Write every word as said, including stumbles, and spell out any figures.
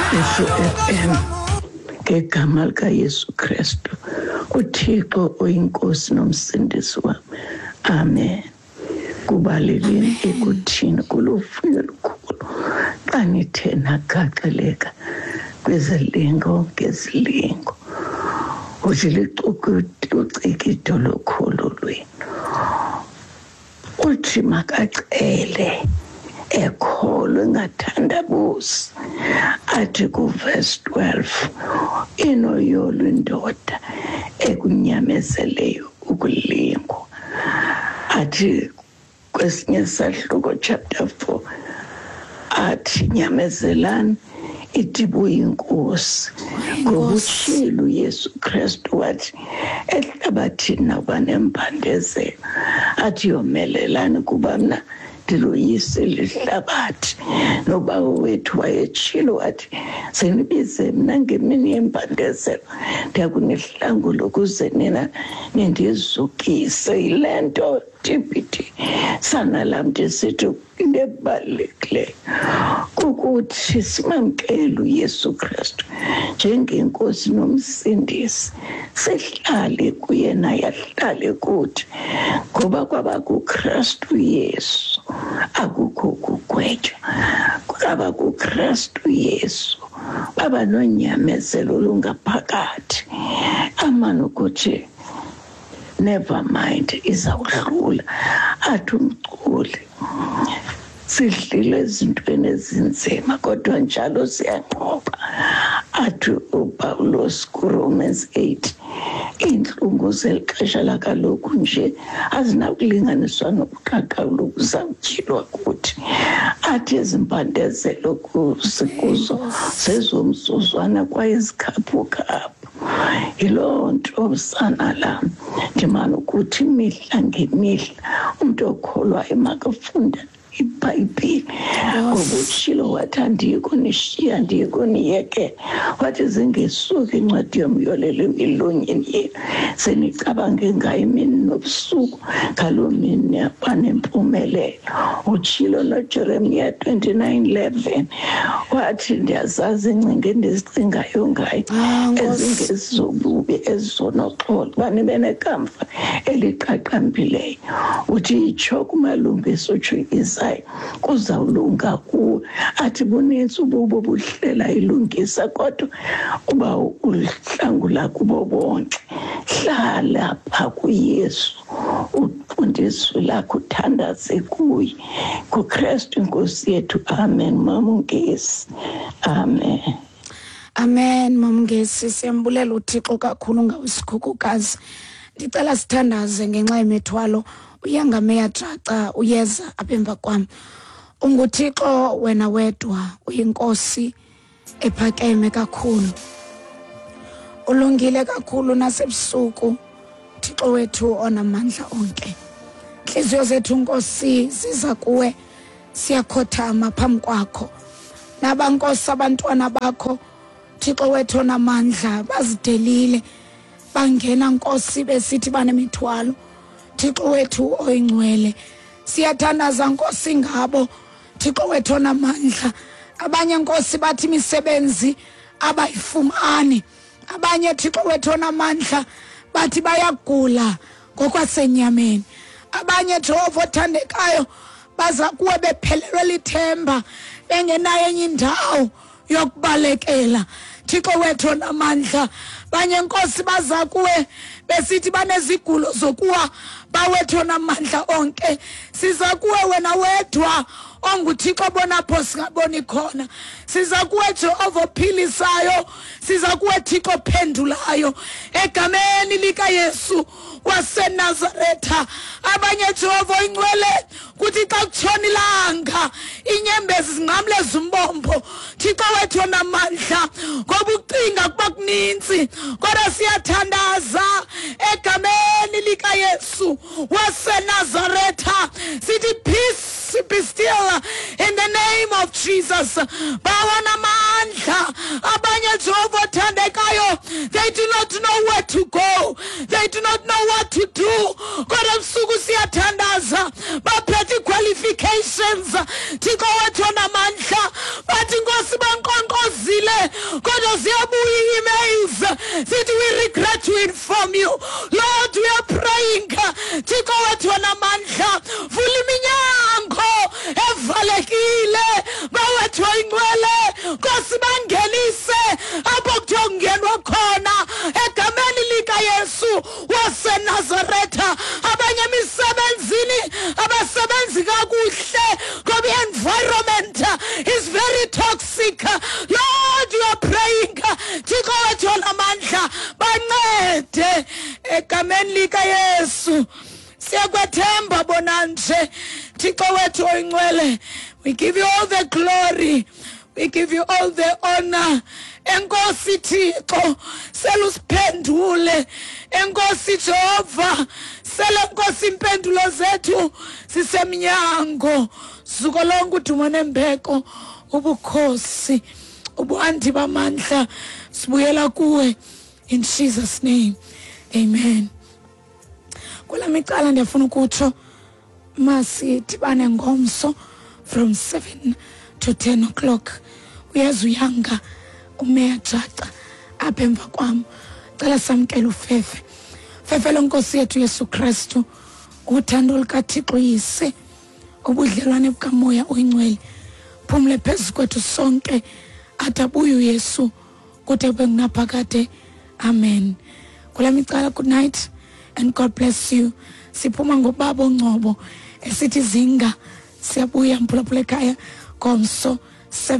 Yesu F M ngegama likaYesu Kristu, uThixo oyinkosi nomsindisi wam. Amen. Kubaleleni ekuthini kuluvuyo olukhulu xa nithe nagaxeleka kwizilingo ngezilingo, uthi licukido lokholo lwenu. Uthi makacele ekholwe engathandabuzi. Athi kuverse twelve, inoyolo indoda ekunyamezeleyo ukulingwa. Athi kwesinye isahluko chapter four, athi nyamezelani ithi buyinkosi. Ngoba utshilo uYesu Kristu wathi ehlabathini nakuba nembandezelo, athi yomelelani kuba mna ndiloyisile ihlabathi. Nobawo wethu wayetshilo wathi senibize mna ngemini yembandezelo, ndiyakunihlangula ukuze nina nindizukise. Yile nto T B T sana lam ndisithi into ebalulekileyo kukuthi simamkele uYesu Kristu njengenkosi nomsindisi, sihlale kuye naye ahlale kuthi, ngoba kwaba kuKristu Yesu akukho kugwetywa. Kwaba kuKristu Yesu baba nonyamezelo olungaphakathi, amane ukuthi never mind, izawuhlula. Athi umculi, sidlile ezintweni ezinzima kodwa njalo siyanqoba. Athi uPawulos kuRomans eight, iintlungu zeli xesha lakaloku nje azinakulinganiswa nobuqaqawuli obuzawutyhilwa kuthi. Athi ezimbandezelo sikuzo zezomzuzwana kwaye zikhaphukhaphu. Yiloo nto sana lam ndimane ukuthi imihla ngemihla umntu okholwayo makafunde iBhayibhile. Ngoba utshilo wathi andiyi kunishiya, andiyi kuniyekela. Wathi zingesuki incwadi yomyolelo emilonyeni yenu, senicabange ngayo imini nobusuku, ngaloo mini niyaba nempumelelo. Utshilo noJeremiya twenty-nine eleven wathi ndiyazazi iingcinga endizicingayo ngayo, ezingezobubi ezizonoxolo, uba nibe nekamva eliqaqambileyo. Uthi itsho kumalungisa, utsho Isaya, kuzawulunga kuwe. Athi bunintsi ububi obuhlela ilungisa, kodwa uba uhlangula kubo bonke. Hlala pha kuYesu, ufunde izwi lakho, uthandaze kuye, kuKristu inkosi yethu. Amen. Mama uNgesi, amen. Amen. Mama uNgesi, siyambulela uThixo kakhulu ngawe sikhukukazi. Ndicela sithandaze ngenxa yemithwalo. Uyangameya jaca uyeza apha emva kwam. UnguThixo wena wedwa, uyinkosi ephakeme kakhulu, ulungile kakhulu nasebusuku, Thixo wethu onamandla onke. Inhliziyo zethu Nkosi ziza kuwe, siyakhothama phambi kwakho. Nabankosi abantwana bakho Thixo wethu onamandla bazidelile, bangena Nkosi besithi banemithwalo. Thixo wethu oyingcwele, siyathandaza Nkosi ngabo Thixo wethu onamandla. Abanye Nkosi bathi imisebenzi abayifumani, abanye Thixo wethu onamandla bathi bayagula ngokwasenyameni, abanye Jehova othandekayo baza kuwe bephelelwe lithemba, bengenayo enye indawo yokubalekela. Thixo wethu onamandla, banye Nkosi baza kuwe besithi banezigulo zokuwa, bawethu onamandla onke. Siza kuwe wena wedwa onguThixo bonapho singaboni khona. Siza kuwe Jehova ophilisayo, siza kuwe Thixo ophendulayo, egameni likaYesu waseNazaretha. Abanye Jehova oyingcwele kuthi xa kutshona ilanga inyembezi zinqamleza umbombo. Thixo wethu onamandla, ngoba ucinga kuba kuninzi, kodwa siyathandaza egameni likaYesu waseNazaretha, sithi peace be still in the name of Jesus. Bawanamandla abanye Jehova othandekayo, they do not know where to go, they do not know what to do. Kodwa ebusuku siyathandaza, baphethe qualifications Thixo wethu onamandla, bathi Nkosi banqonqozile Kodwa ziyabuya ii-emails zithi, "We regret to inform you." Lord, we are praying, Thixo wethu onamandla, vula iminyango evalekile. Bawethu oyingcwele, Nkosi, bangenise apho kuthiwa kungenwa khona egameni likaYesu waseNazaretha. Abanye emisebenzini abasebenzi kakuhle ngoba i-environment is very toxic. Lord, you are praying, Thixo wethu onamandla, bancede egameni likaYesu. Siyakwethemba bona nje, Thixo wethu oyingcwele. We give you all the glory, we give you all the honor. Enkosi Thixo, selusiphendule. Enkosi Jehova, sele Nkosi impendulo zethu sisemnyango. Zuko lonke, udumo nembeko, ubukhosi, ubuandi bamandla, sibuyela kuwe in Jesus' name, amen. Kula micala ndiyafuna ukutsho, masidibane ngomso from seven to ten o'clock. Uyeza uyanga umeya Jaca apha emva kwam. Cela samkele ufefe. Fefe lenkosi yethu Yesu Kristu, uthando lukaThixo Yise, ubudlelwane bukaMoya oyiNgcwele phumle phezu kwethu sonke athi abuye uYesu kude kube ngunaphakade. Amen. Kula micala, good night and God bless you. Siphuma ngobaba oNgcobo esithi zinga. Siyabuya, mphulaphula ekhaya, ngomso seven.